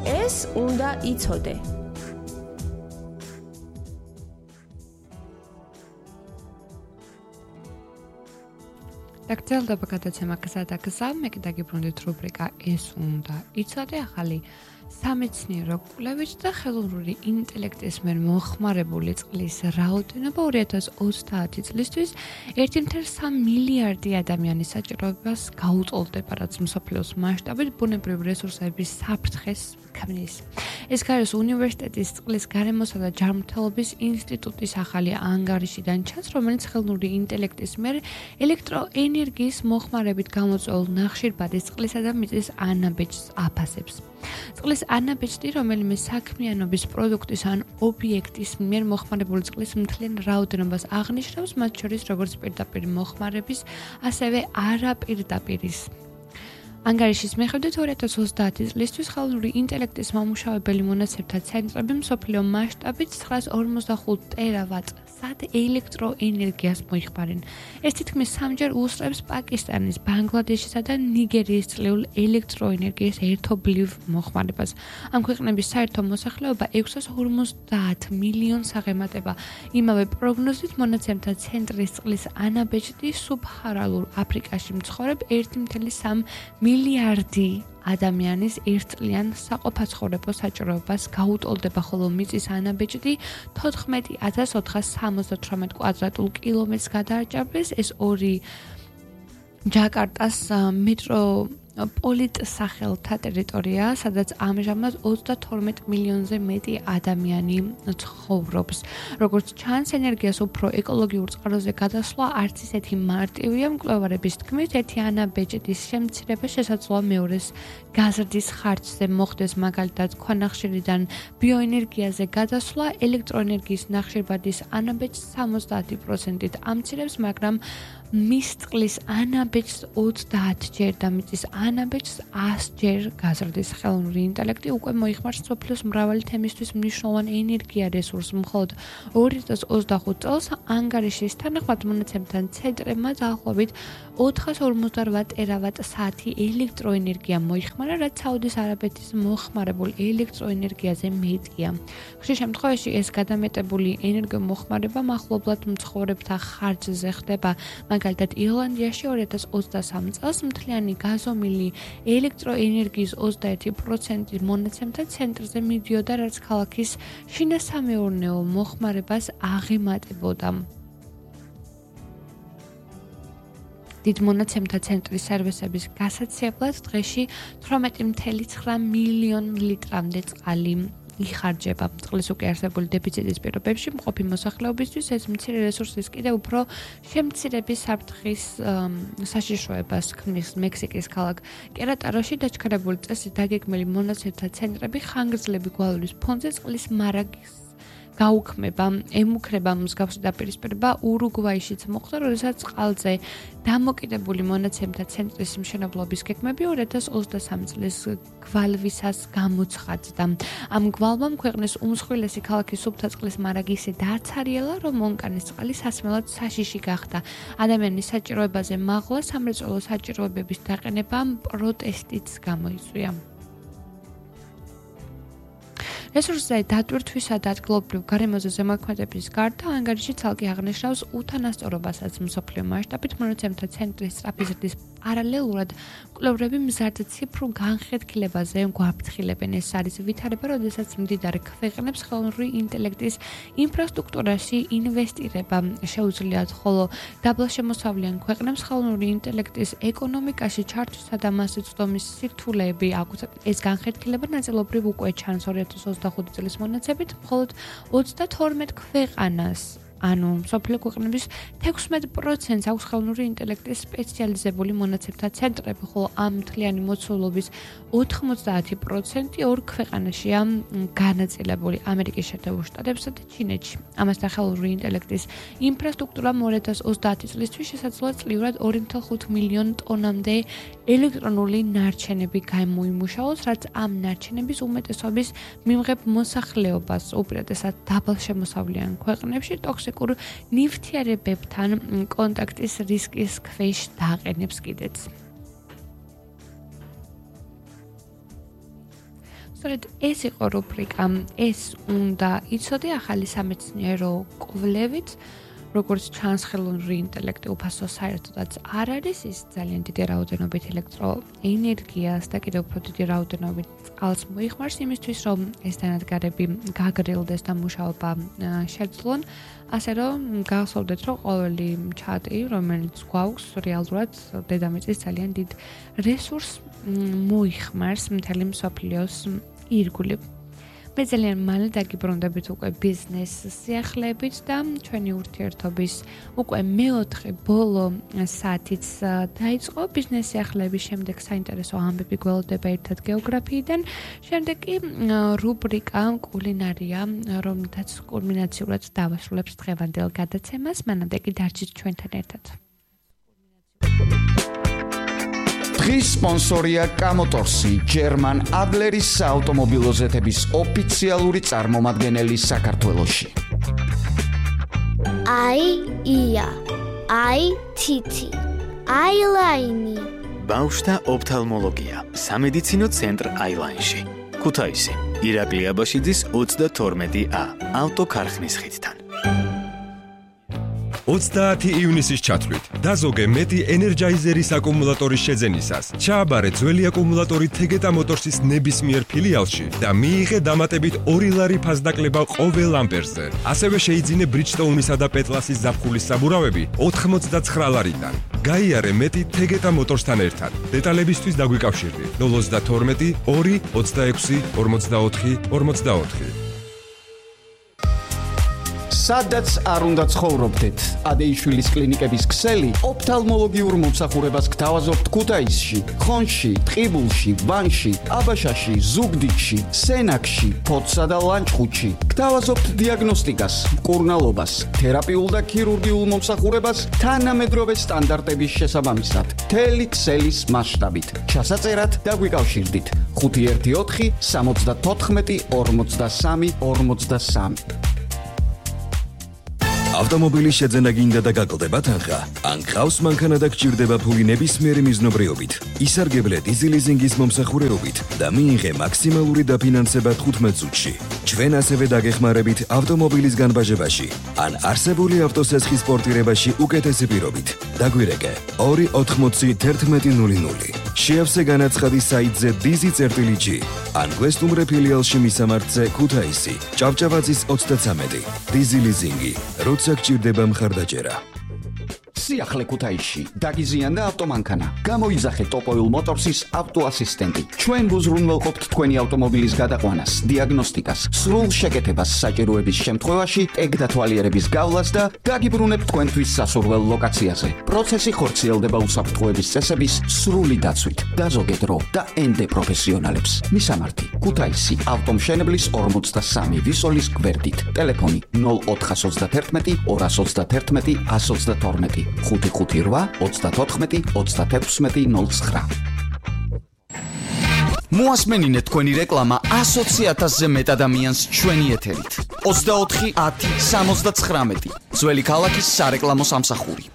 ეს უნდა იცოდე. დაგრძელდება გადაცემა გზადაგზა, მე კიდე გიბრუნდით რუბრიკა ეს უნდა იცოდე, ახალი სამეცნიერო კვლევით და ხელოვნური ინტელექტის მიერ მოხმარებული წყლის რაოდენობა 2030 წლისთვის 1.3 მილიარდი ადამიანის საჭიროებას გაუტოლდება, რაც მსოფლიოს მასშტაბით ბუნებრივი რესურსების საფრთხეს ქმნის. ეს გაეროს უნივერსიტეტის წყლის გარემოსა და ჯანმრთელობის ინსტიტუტის ახალი ანგარიშიდან ჩანს, რომელიც ხელოვნური ინტელექტის მიერ ელექტროენერგიის მოხმარებით გამოწვეულ ნახშირბადის წყლისა და მიწის ანაბეჭდს აფასებს. წყლის ანაბეჭდი, რომელიმე საქმიანობის პროდუქტის ან ობიექტის მიერ მოხმარებული წყლის მთლიან რაოდენობას აღნიშნავს, მათ შორის როგორც პირდაპირ მოხმარების, ასევე არაპირდაპირის. ანგარიშის მიხედვით 2030 წლისთვის ხელოვნური ინტელექტის მომუშავებელი მონაცემთა ცენტრები მსოფლიო მასშტაბით 945 ტერავატ-სად ელექტროენერგიას მოიხმარენ. ეს თითქმის 3-ჯერ უსწრებს პაკისტანის, ბანგლადეშისა და ნიგერიის წლეულ ელექტროენერგიის ერთობლივ მოხმარებას. ამ ქვეყნების საერთო მოსახლეობა 650 მილიონს აღემატება. იმავე პროგნოზით მონაცემთა ცენტრის წყლის ანაბეჭდი სუბსაჰარალურ აფრიკაში მცხოვრებ 1.3 მილიარდი ადამიანის ერთწლიან საყოფაცხოვრებო საჭიროებას გაუტოლდება, ხოლო მიწის ანაბეჭდი 14,478 კვადრატულ კილომეტრს გადააჭარბეს. ეს ორი ჯაკარტას მეტროპოლიტსახელთა ტერიტორია, სადაც ამჟამად 32 მილიონზე მეტი ადამიანი ცხოვრობს. როგორც ჩანს, ენერგიას უფრო ეკოლოგიურ წყაროზე გადასვლა არც ისეთი მარტივია. მკვლევარების თქმით, ერთი ანაბეჭდის შემცირება შესაძლოა მეორეს გაზრდის ხარჯზე მოხდეს, მაგალითად, ქვანახშირიდან ბიოენერგიაზე გადასვლა ელექტროენერგიის ნახშირბადის ანაბეჭდს 70%-ით ამცირებს, მაგრამ მის წყლის ანაბეჭდს 30-ჯერ და მიწის ანაბეჭდს 100-ჯერ გაზრდის. ხელოვნური ინტელექტი უკვე მოიხმარს მსოფლიოს მრავალი თემისთვის მნიშვნელოვან ენერგია რესურსს. მხოლოდ 2025 წელს ანგარიშის თანახმად მონაცემთა ცენტრებმა დაახლოებით 458 ტერავატ-საათი ელექტროენერგია მოიხმარა, რაც საუდის არაბეთის მოხმარებულ ელექტროენერგიაზე მეტია. ხშირ შემთხვევაში ეს გადამეტებული ენერგომოხმარება მახლობლად მცხოვრებთა ხარჯზე ხდება. მაგალითად, ირლანდიაში 2023 წელს მთლიანი გაზომილი ელექტროენერგიის 21% მონაცემთა ცენტრზე მიდიოდა, რაც ქალაქის შინასამეურნეო მოხმარებას აღემატებოდა. დიდ მონაცემთა ცენტრის სერვისების გასაცემლად დღეში 18,9 მილიონ ლიტრამდე წყალი იხარჯება. წყლის უკვე არსებული დეფიციტის პირობებში მყოფი მოსახლეობისთვის ეს მცირე რესურსის კიდევ უფრო შემცირების საფრთხის საშიშროებას ქმნის. მექსიკის ქალაქ კერატაროში დაჩქარებული წესით დაგეგმილი მონაცემთა ცენტრები ხანგრძლივი გვალვლის ფონზე წყლის მარაგის გაუქმება ემუქრება. მსგავსი დაპირისპირება ურუგვაიშიც მოხდა, როდესაც წყალზე დამოკიდებული მონაცემთა ცენტრის მშენებლობის გეგმები 2023 წლის გვალვისას გამოცხადდა. ამ გვალვამ ქვეყნის უმსხვილესი ქალაქის სუფთა წყლის მარაგი ისე დააცარიელა, რომ მონკანის წყალი სასმელად საშიში გახდა. ადამიანის საჭიროებაზე მაღლა სამრეწველო საჭიროებების დაყენებამ პროტესტიც გამოიწვია. რესურსზე დატვირთვისა და ადგილობრივ გარემოზე ზემოქმედების გარდა ანგარიში ცალკე აღნიშნავს უთანასწორობასაც. მსოფლიო მასშტაბით მონაცემთა ცენტრის სწრაფი ზრდის პარალელურად მკვლევრები მზარდ ციფრულ განხეთქილებაზე გვაფრთხილებენ. ეს არის ვითარება, როდესაც მდიდარ ქვეყნებს ხელოვნური ინტელექტის ინფრასტრუქტურაში ინვესტირება შეუძლიათ, ხოლო დაბალშემოსავლიან ქვეყნებს ხელოვნური ინტელექტის ეკონომიკაში ჩართვისა და მასზე წვდომის სირთულეები აქვთ. ეს განხეთქილება ნაწილობრივ უკვე ჩანს 2025 წლის მონაცემებით, მხოლოდ 32 ქვეყანას, ანუ მსოფლიო ქვეყნების 16% აქვს ხელოვნური ინტელექტის სპეციალიზებული მონაცემთა ცენტრები, ხოლო ამ მთლიანი მოცულობის 90% ორ ქვეყანაშია განაწილებული: ამერიკის შეერთებულ შტატებსა და ჩინეთში. ამასთან ხელოვნური ინტელექტის ინფრასტრუქტურამ 2030 წლისთვის შესაძლოა წლიურად 2,5 მილიონ ტონამდე ელექტრონული ნარჩენები გამოიმუშაოს, რაც ამ ნარჩენების უმეტესობის მიმღებ მოსახლეობას, უპირატესად დაბალშემოსავლიან ქვეყნებში, ტოქსიკურ ნივთიერებებთან კონტაქტის რისკის ქვეშ დააყენებს კიდეც. სწორედ ეს იყო რუბრიკა ეს უნდა იცოდე ახალი სამეცნიერო კვლევით როგორც ჩანს ხელოვნური ინტელექტი უფასო საერთოდაც არ არის ის ძალიან დიდი რაოდენობით ელექტროენერგიას და კიდევ უფრო დიდი რაოდენობით წყალს მოიხმარს იმისთვის რომ ეს დანადგარები გაგრილდეს და მუშაობა შეძლონ ასე რომ გახსოვდეთ რომ ყოველი ჩატი რომელიც გვაქვს რეალურად დედამიწის ძალიან დიდ რესურსს მოიხმარს მთელი მსოფლიოს ირგვლივ მე ძალიან მალე დაგიბრუნდებით უკვე ბიზნეს სიახლეებით და ჩვენი ურთიერთობის უკვე მეოთხე ბოლო საათიც დაიწყო ბიზნეს სიახლეების შემდეგ საინტერესო ამბები გველოდება ერთად გეოგრაფიიდან შემდეგ კი რუბრიკა კულინარია რომელთაც კულმინაციურად დავასრულებს დღევანდელ გადაცემას მანამდე კი დარჩით ჩვენთან ერთად დღის სპონსორია კამოტორსი, ჯერმან ადლერის საავტომობილო ზეთების ოფიციალური წარმომადგენელი საქართველოში. ია, თითი, აილაინი. ბავშვთა ოფთალმოლოგია, სამედიცინო ცენტრ აილაინში. ქუთაისი, ირაკლი აბაშიძის 32A, ავტოქარხნის ხიდთან. 30 ივნისის ჩათვლით დაზოგე მეტი ენერჯაიზერის აკუმულატორის შეძენისას. ჩააბარე ძველი აკუმულატორი თეგეტა მოტორსის ნებისმიერ ფილიალში და მიიღე დამატებით 2 ლარი ფასდაკლება ყოველ ამპერზე. ასევე შეიძინე ბრიჯსტოუნისა და პეტლასის ზაფხულის საბურავები 89 ლარიდან. გაიარე მეტი თეგეტა მოტორსთან ერთად. დეტალებისთვის დაგვიკავშირდით 032 2 26 44 44. სადაც არ უნდა ცხოვრობდეთ. ადეიშვილის კლინიკების ქსელი ოფთალმოლოგიურ მომსახურებას გთავაზობთ ქუთაისში, ხონში, ტყიბულში, ვანში, აბაშაში, ზუგდიდში, სენაკში, ფოთსა და ლანჩხუთში. გთავაზობთ დიაგნოსტიკას, მკურნალობას, თერაპიულ და ქირურგიულ მომსახურებას თანამედროვე სტანდარტების შესაბამისად. მთელი ქსელის მასშტაბით. ჩასაწერად დაგვიკავშირდით 514 74 43 43. ავტომობილის შეძენა გინდა და გაკლდება თანხა? ან გყავს მანქანა და გჭირდება ფული ნებისმიერი მიზნობრიობით? ისარგებლე დიზელიზინგის მომსახურებით და მიიღე მაქსიმალური დაფინანსება 15 წუთში. ჩვენ ასევე დაგეხმარებით ავტომობილის განბაჟებაში ან არსებული ავტოსესხის პორტირებაში უკეთესი პირობით. დაგვირეკე 280 1100. შეავსე განაცხადი საიტზე dizi.g ან გვესტუმრე ფილიალში მისამართზე ქუთაისი, ჭავჭავაძის 33. დიზელიზინგი. როცა გჭირდება მხარდაჭერა. სიახლე ქუთაისში დაგიზიანდა ავტომანქანა. გამოიძახე ტოპოილ მოტორსის ავტოასისტენტი. ჩვენ გუზრუნველყოფთ თქვენი ავტომობილის გადაყვანას, დიაგნოსტიკას, სრულ შეკეთებას საჭიროების შემთხვევაში, ტეგ-დათვალიერების გავლას და დაგიბრუნებთ თქვენთვის სასურველ ლოკაციაზე. პროცესი ხორციელდება უსაფრთხოების წესების სრული დაცვით. დაზოგე დრო და ენდე პროფესიონალებს. მისამართი: ქუთაისი, ავტომშენებლის 43 ვისოლის გვერდით. ტელეფონი 0431 231 122. 558 34 36 09. მოასმენინეთ თქვენი რეკლამა 100,000-ზე მეტ ადამიანს ჩვენი ეთერით. 24 10 79. ძველი ქალაქის სარეკლამო სამსახური.